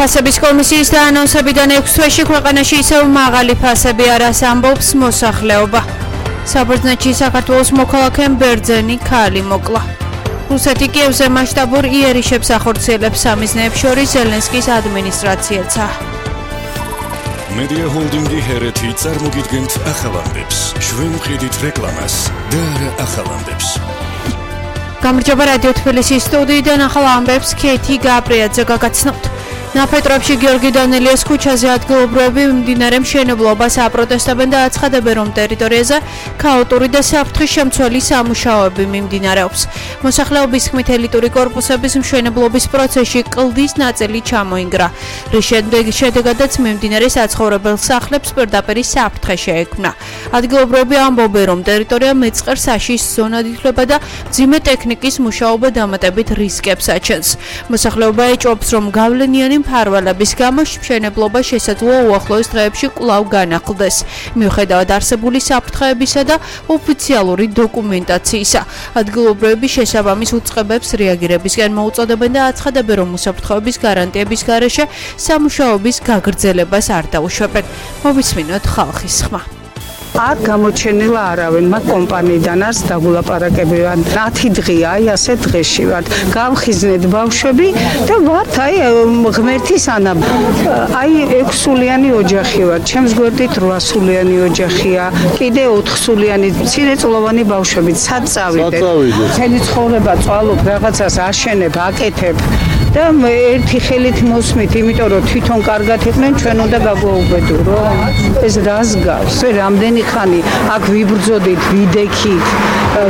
ფასების კომისიის დაანონსებიდან 6 თვეში ქვეყანაში ისევ მაღალი ფასები არას ამბობს მოსახლეობა. საბერძნეთში საქართველოს მოქალაქემ ბერძენი ქალი მოკლა. რუსეთი კიევზე მასშტაბურ იერიშებს ახორციელებს სამიზნეებს შორის ზელენსკის ადმინისტრაციაცა. Media Holdingi ჰერეთი წარმოგიდგენთ ახალამდებს. ჩვენ ვყიდით რეკლამას და არა ახალამდებს. გამარჯობა რადიო თბილისის სტუდიიდან ახალ ამბებს ქეთი გაბრიაძე გაგაცნობთ. ნაფეტრებში გიორგი დანელიას ქუჩაზე ადგილობრივები მიმდინარე მშენებლობას აპროტესტებენ და აცხადებენ, რომ ტერიტორიაზე ქაოტური და საფრთხის შემცველი სამუშაოები მიმდინარეობს. მოსახლეობის თქმით, ელიტური კორპუსების მშენებლობის პროცესში კლდის ნაწილი ჩამოინგრა, რის შედეგადაც მიმდინარე საცხოვრებელ სახლებს პირდაპირ საფრთხე შეექმნა. ადგილობრივები ამბობენ, რომ ტერიტორია მეწყერ საშიშ ზონად ითვლება და მძიმე ტექნიკის მუშაობა დამატებით რისკებს აჩენს. მოსახლეობა ეჭვობს, რომ გავლენიანი მფარველების გამო მშენებლობა შესაძლოა უახლოეს დღეებში კვლავ განახლდეს. მიუხედავად არსებული საფრთხეებისა და ოფიციალური დოკუმენტაციისა, ადგილობრივები შესაბამის უწყებებს რეაგირებისკენ მოუწოდებენ და აცხადებენ, რომ უსაფრთხოების გარანტიების გარეშე სამუშაოების გაგრძელებას არ დაუშვებენ. მოვისმინოთ ხალხის ხმა. არ გამოჩენილა არავინ, მაგ კომპანიიდან არც დაგულაპარაკები ვარ. 10 დღეა, აი ასე დღეში ვარ. გავხიზნეთ ბავშვები და ვართ აი ღმერთის ანა. აი 6 სულიანი ოჯახი ვარ. ჩემს გვერდით 8 სულიანი ოჯახია. კიდე 4 სულიანი მცირეწლოვანი ბავშვები. სად წავიდეთ? მთელი ცხოვრება წვალობ, რაღაცას აშენებ, აკეთებ. და ერთი ხელით მოსმით, იმიტომ რომ თვითონ კარგად იყვნენ, ჩვენ უნდა გაგვაუბედურო. ეს რას გავს? რამდენი ხანი აქ ვიბრძოდით, ვიდექით,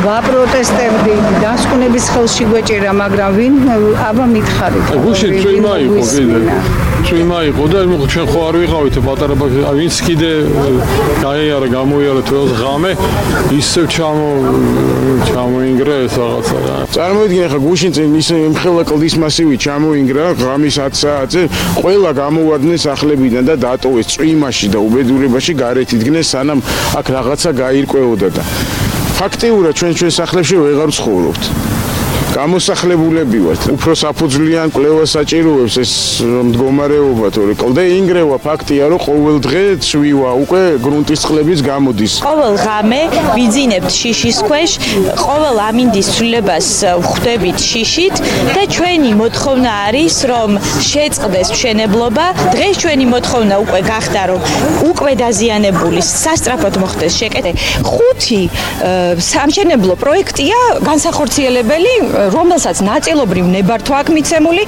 ვაპროტესტებდით, დასკვნების ხელში გვეჭირა, მაგრამ ვინ აბა მითხარით. გუშინ ჩვენმა იყო კიდე. ჩვენმა იყო და ჩვენ ხო არ ვიყავით პატარა ბავშვი, ვინც კიდე გაიარა, გამოიარა თველს ღამე, ისევ ჩამოინგრა ეს რაღაცა რა. წარმოიდგინე ხა გუშინ წინ ის მხელა კლდის მასივი ჩამოინგრა ღამის 10 საათზე, ყველა გამოვარდნენ სახლებიდან და დატოვეს წვიმაში და უბედურებაში გარეთ იდგნენ, სანამ აქ რაღაცა გაირკვეოდა და ფაქტიურად ჩვენ სახლებში ვეღარ ცხოვრობთ. გამოსახლებულები ვართ. უფრო საფუძვლიან კვლევას საჭიროებს ეს მდგომარეობა, თორე კლდე ინგრევა ფაქტია, რომ ყოველ დღე ცვივა, უკვე გრუნტის წყლებიც გამოდის. ყოველ ღამე ვიძინებთ შიშის ქვეშ, ყოველ ამინდის ცვლილებას ვხვდებით შიშით და ჩვენი მოთხოვნა არის, რომ შეწყდეს მშენებლობა. დღეს ჩვენი მოთხოვნა უკვე გახდა, რომ უკვე დაზიანებული სასწრაფოდ მოხდეს შეკეთება. 5 სამშენებლო პროექტია განსახორციელებელი, რომელსაც ნაწილობრივ ნებართვა აქვს მიცემული,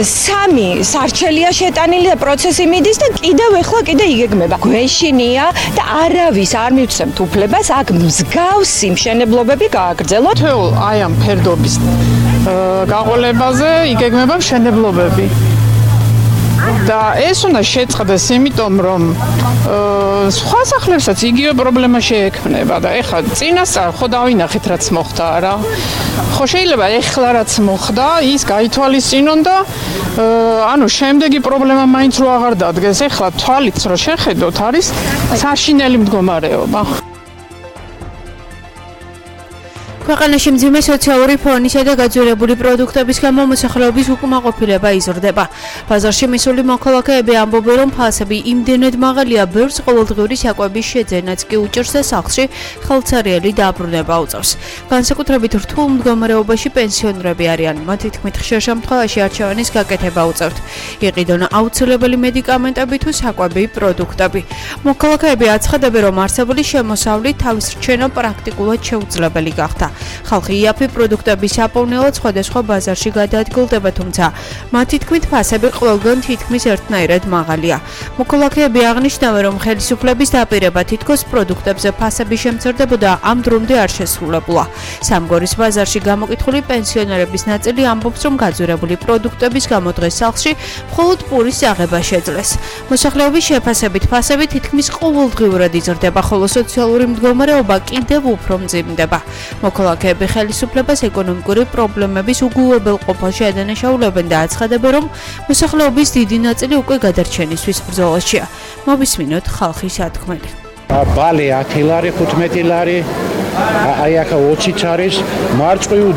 3 სარჩელია შეტანილი და პროცესი მიდის და კიდევ იგეგმება. გვეშინია და არავის არ მივცემთ უფლებას აქ მსგავსი მშენებლობები გააგრძელოთ. თეულ აი ამ ფერდობის გაყოლებაზე იგეგმება მშენებლობები. და ეს უნდა შეწყდეს, იმიტომ რომ სხვა სახლებსაც იგივე პრობლემა შეექმნება და ეხლა წინასწარ ხო დავინახეთ რაც მოხდა რა. ხო შეიძლება ეხლა რაც მოხდა, ის გაითვალისწინონ და ანუ შემდეგი პრობლემა მაინც რო აღარ დადგეს. ეხლა თვალით რო შეხედოთ, არის საშინელი მდგომარეობა. ქვეყანაში მძიმე სოციალური ფონისა და გაძვირებული პროდუქტების გამო მოსახლეობის უკმაყოფილება იზრდება. ბაზარში მისული მოქალაქეები ამბობენ, რომ ფასები იმდენად მაღალია, ბევრს ყოველდღიური საკვების შეძენაც კი უჭირს და სახლში ხელცარიელი დაბრუნება უწევს. განსაკუთრებით რთულ მდგომარეობაში პენსიონერები არიან. მათი თქმით, ხშირ შემთხვევაში არჩევანის გაკეთება უწევთ. იყიდონ აუცილებელი მედიკამენტები თუ საკვები პროდუქტები. მოქალაქეები აცხადებენ, რომ არსებული შემოსავლით თავის რჩენა პრაქტიკულად შეუძლებელი გახდა. ხალხი იაფი პროდუქტების აპოვნელად სხვადასხვა ბაზარში გადაადგილდება, თუმცა მათი თქმით ფასები ყველგან თითქმის ერთნაირად მაღალია. მოქალაქეები აღნიშნავენ, რომ ხელისუფლების დაპირება თითქოს პროდუქტებზე ფასების შემცირდებოდა ამ დრომდე არ შესრულებულა. სამგორის ბაზარში გამოკითხული პენსიონერების ნაწილი ამბობს, რომ გაძვირებული პროდუქტების გამო დღეს სახლში მხოლოდ პურის აღება შეძლეს. მოსახლეობის შეფასებით ფასები თითქმის ყოველდღიურად იზრდება, ხოლო სოციალური მდგომარეობა კიდევ უფრო მძიმდება. მოქალაქეები ხელისუფლებას ეკონომიკური პრობლემების უგულებელყოფაში ადანაშაულებენ და აცხადებენ, რომ მოსახლეობის დიდი ნაწილი უკვე გადარჩენისთვის ბრძოლაშია. მოვისმინოთ ხალხის ათქმელი. ბალე 10 ლარი, 15 ლარი, აი ახლა 20 არის, მარწყვი